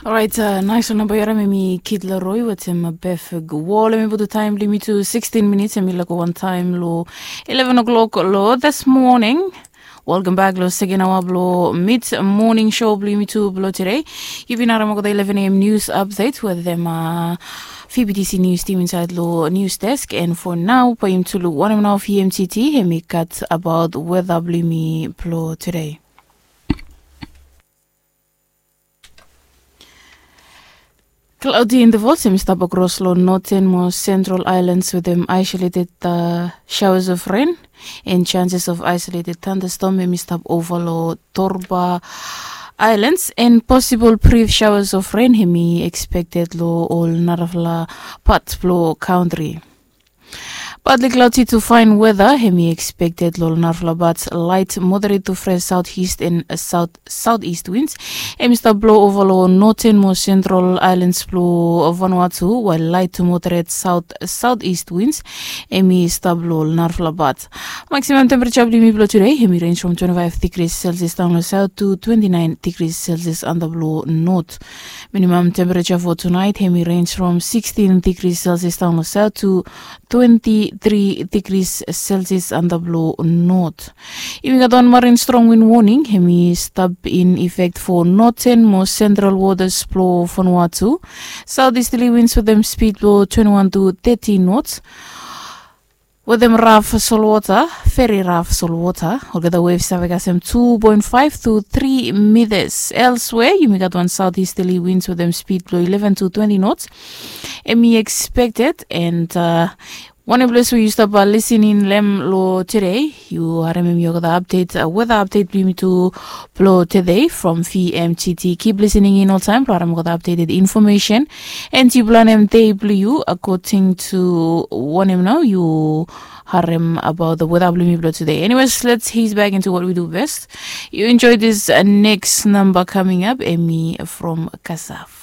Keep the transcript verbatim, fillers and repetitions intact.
Orait, nais ol namba yu harim em i Kid Laroi wetem Befeg Wol. Em i putum taem blong yumi tu sikstin minits, em i laik wantaem long ileven o'clock long this morning. Welcome back long seken aoa blong mid morning show blong yumi tu blong tude. Yu bin harim olgeta ileven a.m. news update wetem uh, F B T C news team inside long news desk, and for now bae yumi tu luk wanem nao F M T T em i gat about weather blong yumi blong tude. Cloudy intervals em i stap across long northern mo central islands with them isolated uh, showers of rain and chances of isolated thunderstorm em i stap over long Torba Islands, and possible brief showers of rain em i expected long ol narafala part blong country. Partly cloudy to fine weather em i expected long narafala, but light moderate to fresh southeast and south southeast winds em i stap blow over long northern mo central islands blong Vanuatu, while light to moderate south southeast winds em i stap long narafala, but maximum temperature blong yumi blong today em i range from twenty-five degrees Celsius down long south to twenty-nine degrees Celsius under blong north. Minimum temperature for tonight em i range from sixteen degrees Celsius down long south to twenty-three degrees Celsius under blong north. Yumi gat wan marine strong wind warning em i stap in effect for northern mo central waters blong Vanuatu. Southeasterly winds with them speed blong twenty-one to thirty knots. With them rough salt water, very rough salt water. Olgeta waves save kasem two point five to three meters. Elsewhere, yumi gat wan southeasterly winds with them speed blong eleven to twenty knots. Em i expected, and uh, wanem ples we yu stap listening long em long today, yu harem em i olgeta update, uh, weather update blong yumi tu blong today from V M T T. Keep listening in oltaem blong harem olgeta updated information, and yu planem dei blong yu according to wanem nao yu harem about the weather blong yumi blong today. Anyways, let's ease back into what we do best. You enjoy this uh, next number coming up, em i from Kasaf.